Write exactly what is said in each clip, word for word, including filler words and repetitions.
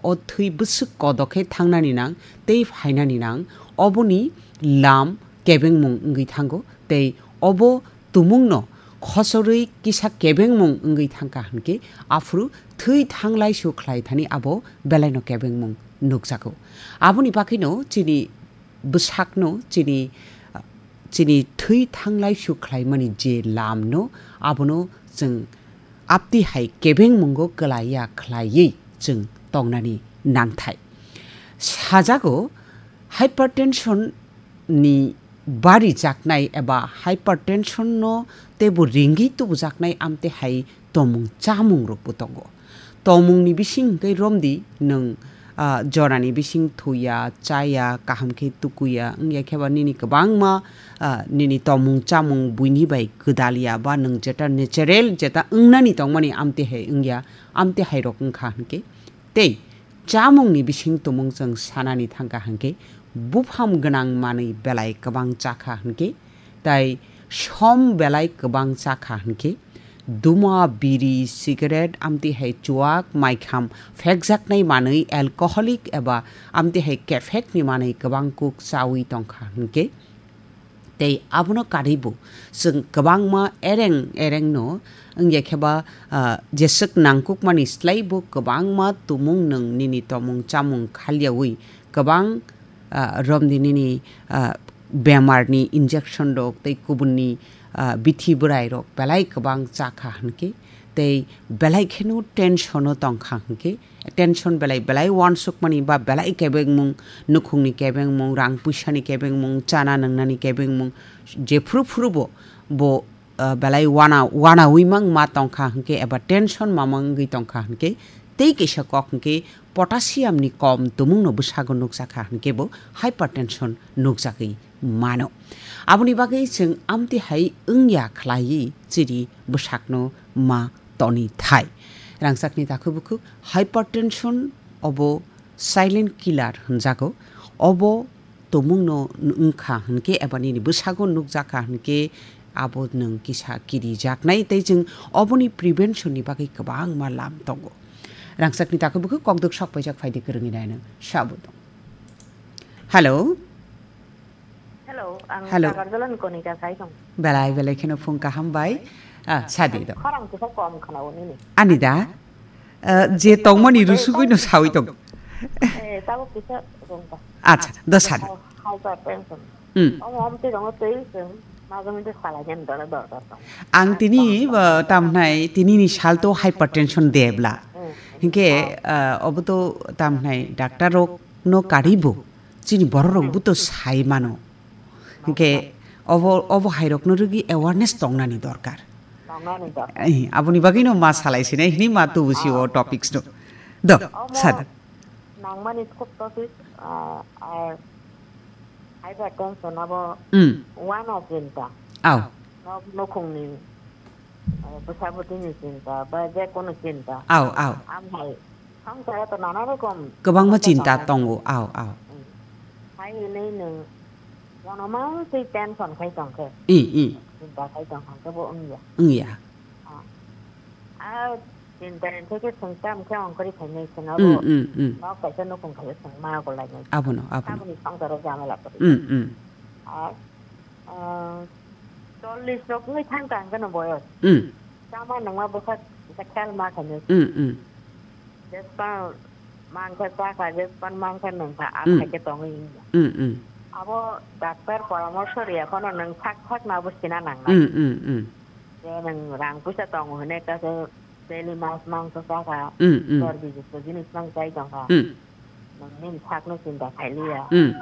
o thwi bwswk kodok khe thangnani nang tei phainani nang, oboni lam kebengmung wngwi thango tei obo tumungno khosorwi kisa kebengmung wngwi thangkha hwnkhe, aphuru thwi thanglai su khlai thani abo belaino kebengmung nukjago. Aboni bagwino chini bwsakno, chini, chini thwi thanglai su khlaimani je lamno, abono chwng apti hai kebengmungo kwlaiya khlaiwi chwng tongnani nangthai. Sajago, hypertension ni bari jaknai eba hypertension no teibo ringwi tubujaknai amte hai tomung chamung rokbo tongo. Tomung ni bising hwnkhe romdi nwng, ah, jorani bising thuya, chaya, kaham khe tukuya, wngya khe ba nini kwbangma, ah, nini tomung chamung buini bai gwdalya ba nwng jeta natural jeta wngnani tongmani amte hai wngya, amte hai rok wngkha hwnkhe. Tei chamungni bising tumung chwng sanani thangkha hwnkhe, buphang gwnang manwi belai kwbang chakha hwnkhe, tai som belai kwbang chakha hwnkhe, duma, biri, cigarette, amtwi hai chuak, maikham phekjaknai manwi, alcoholic eba amtwi hai kephekni manwi kwbang kuk chawi tongkha hwnkhe, tei abono karwibo chwng kwbangma ereng erengno wngya khe ba, ah, jeswk nangkukmani slaibo kwbangma tumung nwng nini tomung chamung khalyawi kwbang, ah, romdi nini, ah, bemarni injection rok tei kubunni, ah, bithi bwrai rok belai kwbang chakha hwnkhe tei belai kheno tension o tongkha hwnkhe, tension belai belai uansukmani ba belai kebengmung, nukhungni kebengmung, rang puisani kebengmung, chana nwngnani kebengmung, jephru phrubo bo, ah, belai wana, wanaui mang ma tongkha hwnkhe eba tension ma mangwi tongkha hwnkhe, tei kaisa kok hwnkhe potassium ni kom tumungno bwsago nukjakha hwnkhe bo hypertension nukjagwi mano. Aboni bagwi chwng amtwi hai wngya khlaiwi chini bwsakno ma toni thai. Rangchakni takhuk bukhuk hypertension obo silent killer hwnjago. Obo tumungno wngkha hwnkhe eba nini bwsago nukjakha hwnkhe abo nwng kisa kirijaknai tei chwng oboni prevention ni bagwi kwbangma lam tongo. Rangchakni takhuk bukhuk kokdwk sok paijak phaidi kwrwngwi naino sabo tong. Hello. Hello, ang Hello. Sagarjalani Konika sai tong. Belai belai kheno phung kaham bai. Ah, sadi do. Khorang kisa kom khana o nini. Ani da? Ah, je tongmani rusugwi no sawi tong. Eh, tabuk kisa rungta. Acha, do sadi. Hypertension. Hmm. Om om te rongo tei sing. Maga minte salai jen dora dora dora. Ang tini, ah, tamnai tini ni sal to hypertension debla. Hmm. Hinke, ah, obo to tamnai doctor rok no karibo. Chini borok rok bo to sai mano. Hingke obo, obo hai rok no rwgwi awareness tongnani dorkar. Tongnani dorkar. Eh, aboni bagwi no ma salai sinai hini ma tubu si o topics no. Do, omo sad. Nangmani khub topic, ah, ar hypertension abo Mm. wana chinta. Aw. Nok, nokhungni, ah, bwsa bwtwini chinta ba je kono chinta. Aw, aw. Am hai Songsaro to nana rokom kwbangma chinta tongo, aw, aw. Mm. Hai hwnwi nwng mono mang twi tension khai tong khe. I, i. Chinta khai tong khe bo wngya. Wngya. Ah. Ah, chinta ni theke swng tam khe ongkori khainai swng abo. Mm, mm, mm. Nok kaisa nukhung khaio swng ma golainai. Abono, abono. Aboni songsaro jamala kwrwi. Mm, mm. Ah, ah, chollish rok wngwi thang kha hwnkhe no boyos. Mm. Chama nangma bwkha kisa khel ma khainai. Mm, mm. Jespan mangkha chakha, jespan mangkha nungkha, a Mm. khaikhe tongwi wngya. Mm, mm. Abo doctor poramorsho riya phano nwng sak sak na abo sina nangnai. Mm, mm, mm. Je nwng rang puisa tongo hwnwi kaisa daily mas mangso chakha, Mm, mm. chorbi jukto jinis mang chai tongkha. Mm. Nini sakno chinta khailiya. Hmm.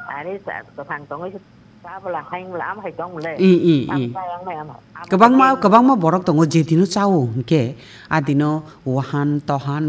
Are sa-, kwthang tongwi se tabla haimla am hai tongmle. I, i, i. Tam kayang mai am, am Kwbangma, hai kwbangma borok tongo je dino chao hwnkhe, a dino wahan, tohan,